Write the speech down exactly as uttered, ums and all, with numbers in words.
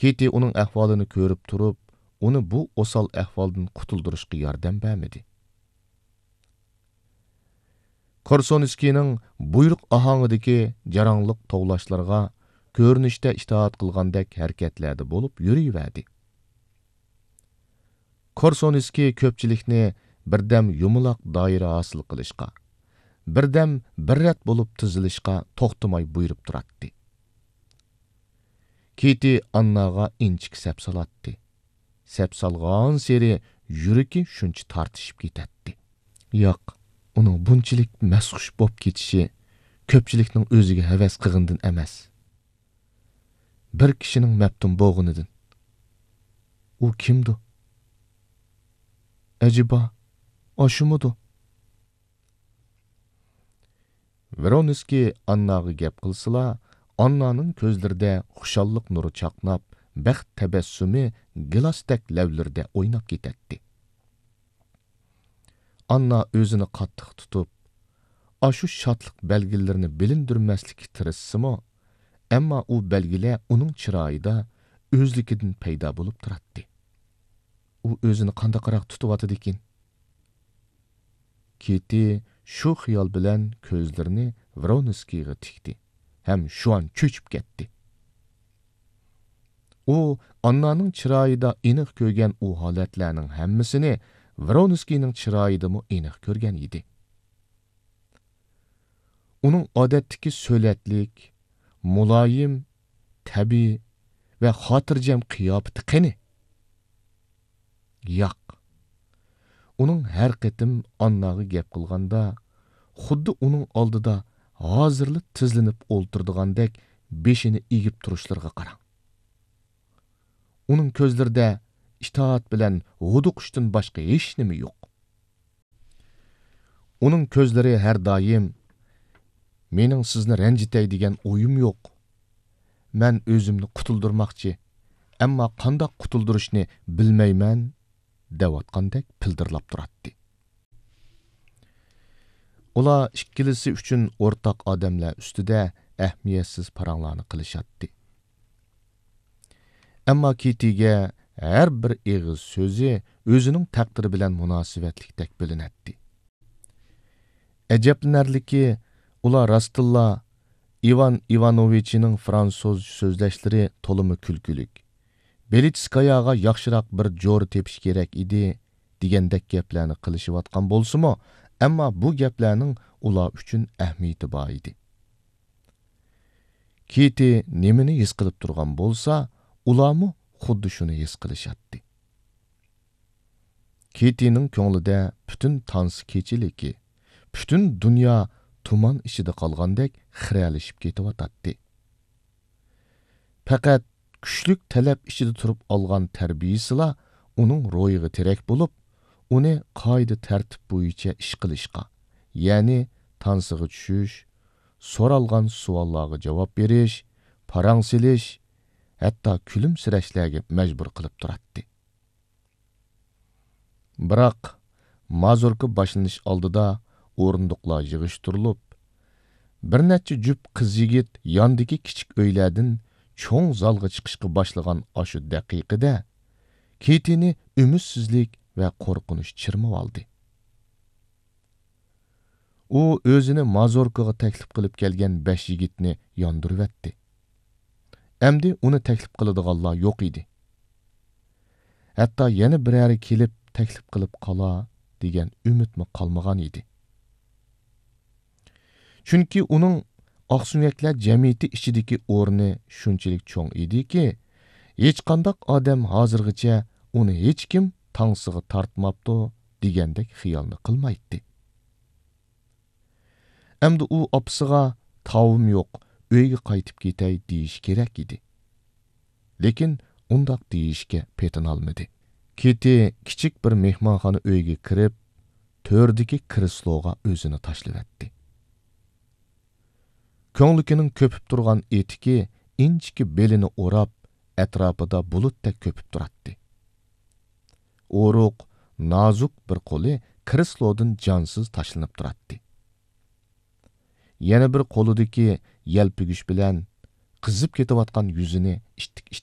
كېتى ئۇنىڭ ئەھۋالىنى كۆرۈپ تۇرۇپ، ئۇنى بۇ ئوسال ئەھۋالدىن قۇتۇلدۇرۇشقا ياردەم بەرمىدى. كورسۇنسكىينىڭ بۇيرۇق ئاھاڭىدىكى جاراڭلىق توۋلاشلىرىغا كۆرۈنۈشتە ئىتائەت قىلغاندەك ھەرىكەتلەردە بولۇپ يۈرۈۋەردى. كورسۇنسكىي كۆپچىلىكنى بىردەم يۇمىلاق دائىرە ھاسىل قىلىشقا، بىردەم بىر رەت بولۇپ تىزىلىشقا توختىماي بۇيرۇپ تۇراتتى. كېتى ئانناغا ئىنچىكە سەپ سالاتتى. سەپ سالغانسېرى يۈرىكى شۇنچە تارتىشىپ كېتەتتى. ياق، ئۇنىڭ بۇنچىلىك مەستخۇش بولۇپ كېتىشى كۆپچىلىكنىڭ ئۆزىگە ھەۋەس قىلغىنىدىن ئەمەس، بىر كىشىنىڭ مەپتۇن بولغىنىدىن. ئۇ كىمدۇ؟ ئەجەبا، ئاشۇمىدۇ؟ ۋرونسكىي ئانناغا گەپ قىلسىلا، ئاننانىڭ كۆزلىرىدە خۇشاللىق نۇرى چاقناپ، بەخت تەبەسسۇمى گىلاستەك لەۋلىرىدە ئويناپ كېتەتتى. ئاننا ئۆزىنى قاتتىق تۇتۇپ، ئاشۇ شادلىق بەلگىلىرىنى بىلىندۈرمەسلىككە تىرىشسىمۇ، ئەمما ئۇ بەلگىلەر ئۇنىڭ چىرايىدا ئۆزلۈكىدىن پەيدا بولۇپ تۇراتتى. ئۇ ئۆزىنى قانداقراق تۇتۇۋاتىدىكىن؟ كېتى شۇ خىيال بىلەن كۆزلىرىنى ۋرونسكىيغا تىكتى ھەم شۇئان چۆچۈپ كەتتى. ئۇ ئاننانىڭ چىرايىدا ئېنىق كۆرگەن ئۇ ھالەتلەرنىڭ ھەممىسىنى ۋرونسكىينىڭ چىرايىدىمۇ ئېنىق كۆرگەن ئىدى. ئۇنىڭ ئادەتتىكى سۆلەتلىك، مۇلايىم، تەبىئىي ۋە خاتىرجەم قىياپىتى قېنى؟ ياق. ئۇنىڭ ھەر قېتىم ئانناغا گەپ قىلغاندا، خۇددى ئۇنىڭ ئالدىدا ھازىرلا تىزلىنىپ ئولتۇرىدىغاندەك بېشىنى ئېگىپ تۇرۇشلىرىغا قاراڭ. ئۇنىڭ كۆزلىرىدە ئىتائەت بىلەن ھودۇقۇشتىن باشقا ھېچنېمە يوق. ئۇنىڭ كۆزلىرى ھەر دائىم، «مېنىڭ سىزنى رەنجىتەي دېگەن ئويۇم يوق. مەن ئۆزۈمنى قۇتۇلدۇرماقچى، ئەمما قانداق قۇتۇلدۇرۇشنى بىلمەيمەن» دەۋاتقاندەك پىلدىرلاپ تۇراتتى. ئۇلار ئىككىلىسى ئۈچۈن ئورتاق ئادەملەر ئۈستىدە ئەھمىيەتسىز پاراڭلارنى قىلىشاتتى. ئەمما كېتىگە ھەر بىر ئېغىز سۆزى ئۆزىنىڭ تەقدىرى بىلەن مۇناسىۋەتلىكتەك بىلىنەتتى. ئەجەبلىنەرلىكى، ئۇلار راستتىنلا ئىۋان ئىۋانوۋىچنىڭ فرانسۇزچە سۆزلەشلىرى تولىمۇ كۈلكىلىك، بېلىچسكاياغا ياخشىراق بىر جورا تېپىش كېرەك ئىدى دېگەندەك گەپلەرنى قىلىشىۋاتقان بولسىمۇ، ئەمما بۇ گەپلەرنىڭ ئۇلار ئۈچۈن ئەھمىيىتى بار ئىدى. كېتى نېمىنى ھېس قىلىپ تۇرغان بولسا، ئۇلارمۇ خۇددى شۇنى ھېس قىلىشاتتى. كېتىنىڭ كۆڭلىدە پۈتۈن تانسا كېچىلىكى، پۈتۈن دۇنيا تۇمان ئىچىدە قالغاندەك خىرەلىشىپ كېتىۋاتاتتى. پەقەت كۈچلۈك تەلەپ ئىچىدە تۇرۇپ ئالغان تەربىيىسىلا ئۇنىڭ روھىغا تىرەك بولۇپ، ئۇنى قائىدە تەرتىپ بويىچە ئىش قىلىشقا، يەنى تانسىغا چۈشۈش، سورالغان سوئاللارغا جاۋاب بېرىش، پاراڭ سېلىش، ھەتتا كۈلۈمسىرەشلەرگە مەجبۇر قىلىپ تۇراتتى. بىراق، مازۇركا باشلىنىش ئالدىدا ئورۇندۇقلار يىغىشتۇرۇلۇپ، بىر نەچچە جۈپ قىز-يىگىت ياندىكى كىچىك ئۆيلەردىن چوڭ زالغا چىقىشقا باشلىغان ئاشۇ دەقىقىدە، كېتىنى ئۈمىدسىزلىك ۋە قورقۇنچ چىرمىۋالدى. ئۇ ئۆزىنى مازۇركىغا تەكلىپ قىلىپ كەلگەن بەش يىگىتنى ياندۇرۇۋەتتى. ئەمدى ئۇنى تەكلىپ قىلىدىغانلار يوق ئىدى. ھەتتا يەنە بىرەرى كېلىپ تەكلىپ قىلىپ قالا دېگەن ئۈمىدمۇ قالمىغان ئىدى. چۈنكى ئۇنىڭ ئاقسۆڭەكلەر جەمئىيىتى ئىچىدىكى ئورنى شۇنچىلىك چوڭ ئىدىكى، ھېچقانداق ئادەم ھازىرغىچە ئۇنى ھېچكىم تانسىغا تارتماپتۇ دېگەندەك خىيالنى قىلمايتتى. ئەمدى ئۇ ئاپىسىغا «تاۋىم يوق، ئۆيگە قايتىپ كېتەي» دېيىشى كېرەك ئىدى. لېكىن ئۇنداق دېيىشكە پېتىنالمىدى. كېتى كىچىك بىر مېھمانخانا ئۆيگە كىرىپ، تۆردىكى كرېسلوغا ئۆزىنى تاشلىۋەتتى. كۆڭلىكىنىڭ كۆپۈپ تۇرغان ئېتىكى ئىنچىكە بېلىنى ئوراپ، ئەتراپىدا بۇلۇتتەك كۆپۈپ تۇراتتى. ئورۇق، نازۇك بىر قولى كرېسلودىن جانسىز تاشلىنىپ تۇراتتى. يەنە بىر قولىدىكى يەلپۈگۈچ بىلەن قىزىپ كېتىۋاتقان يۈزىنى ئىتتىك-ئىتتىك